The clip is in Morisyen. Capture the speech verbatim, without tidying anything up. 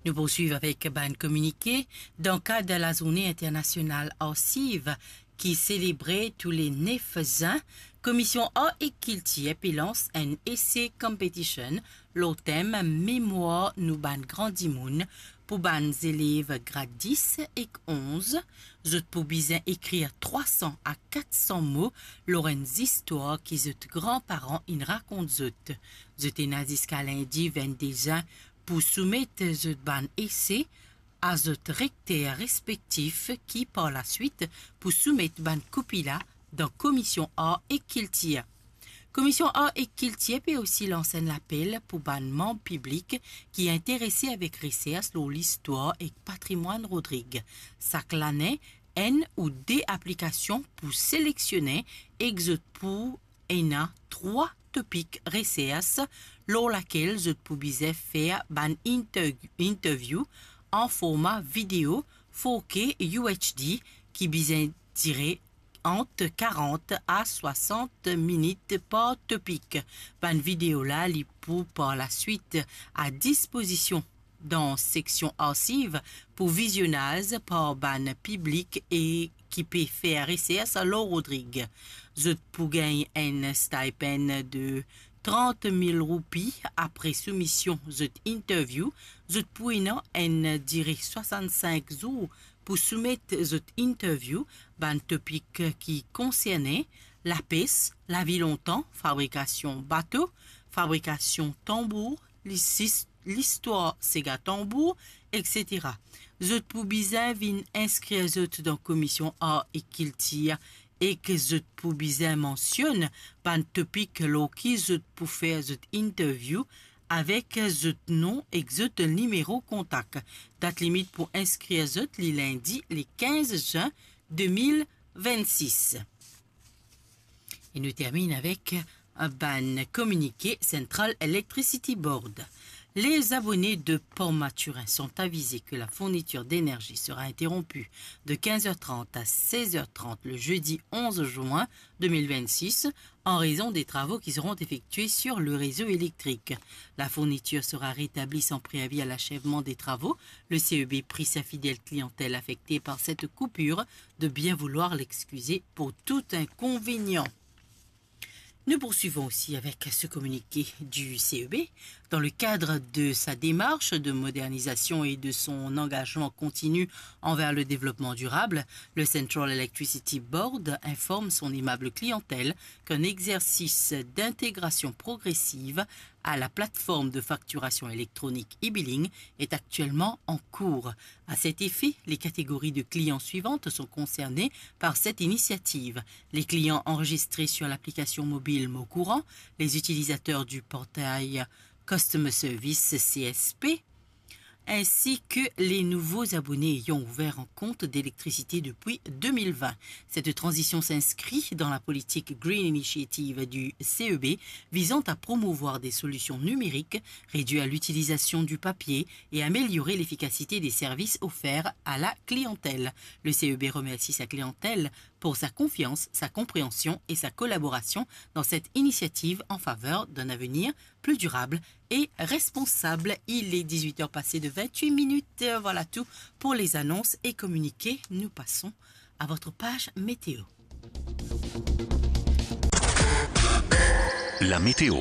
Nou poursuiv avek bann kominike. Dan kad lazourne internasional Arsiv ki selebre tou le nef zin, Komision Ar ek Kiltir pe lans enn essay competition lor tem Memwar nou bann gran dimoun pou bann zelev grad dis ek onz. Zot pou bizin ekrir trwa san a kat san mo lor enn zistwar ki zot granparan inn rakont zot. Zot ena ziska lindi vennde zin pou soumet zot bann ese a zot rekter respektif ki par laswit pou soumet bann kopi la dan Komision Ar ek Kiltir. Komision Ar ek Kiltir pe osi lans enn lapel pou bann manm piblik ki interese avek resers lor listwar ek patrimwann Rodrig. Sak lane, enn ou de aplikasion pou seleksionnen ek zot pou ena trwa topik resers lor lakel zot pou bizin fer bann inter-, interview an forma video four K U H D ki bizin dire ant karant a swasant minit par topik. Bann video la, li pou par laswit a dispozision dan seksion arsiv pou vizionaz par bann piblik e ki pe fer resers lor Rodrig. Zot pou gagn enn stipend de trant mil roupi apre soumision zot interview. Zot pou ena enn dire swasant-sink zour pou soumet zot interview. Bann topik ki konserne: lapes, lavi lontan, fabrikasion bato, fabrikasion tanbour, lisis-, listwar sega tanbour, etsetera. Zot pou bizin vinn inskrir zot dan Komision Ar ek Kiltir ek zot pou bizin mansionn bann topik lor ki zot pou fer zot interview avek zot nom ek zot nimero kontak. Dat limit pou inskrir zot, li lindi le kinz zin de mil vennsis. E nou terminn avek bann kominike Central Electricity Board. Les abonnés de Port Mathurin sont avisés que la fourniture d'énergie sera interrompue de quinze heures trente à seize heures trente le jeudi onze juin deux mille vingt-six en raison des travaux qui seront effectués sur le réseau électrique. La fourniture sera rétablie sans préavis à l'achèvement des travaux. Le C E B prie sa fidèle clientèle affectée par cette coupure de bien vouloir l'excuser pour tout inconvénient. Nous poursuivons aussi avec ce communiqué du C E B. Dans le cadre de sa démarche de modernisation et de son engagement continu envers le développement durable, le Central Electricity Board informe son aimable clientèle qu'un exercice d'intégration progressive à la plateforme de facturation électronique e-billing est actuellement en cours. À cet effet, les catégories de clients suivantes sont concernées par cette initiative: les clients enregistrés sur l'application mobile Mon Courant, les utilisateurs du portail Customer Service C S P, ainsi que les nouveaux abonnés ayant ouvert un compte d'électricité depuis deux mille vingt. Cette transition s'inscrit dans la politique Green Initiative du C E B visant à promouvoir des solutions numériques, réduire l'utilisation du papier et améliorer l'efficacité des services offerts à la clientèle. Le C E B remercie sa clientèle pour sa confiance, sa compréhension et sa collaboration dans cette initiative en faveur d'un avenir plus durable et responsable. Il est dix-huit heures passées de vingt-huit minutes. Voilà tout pour les annonces et communiqués. Nous passons à votre page météo. La météo.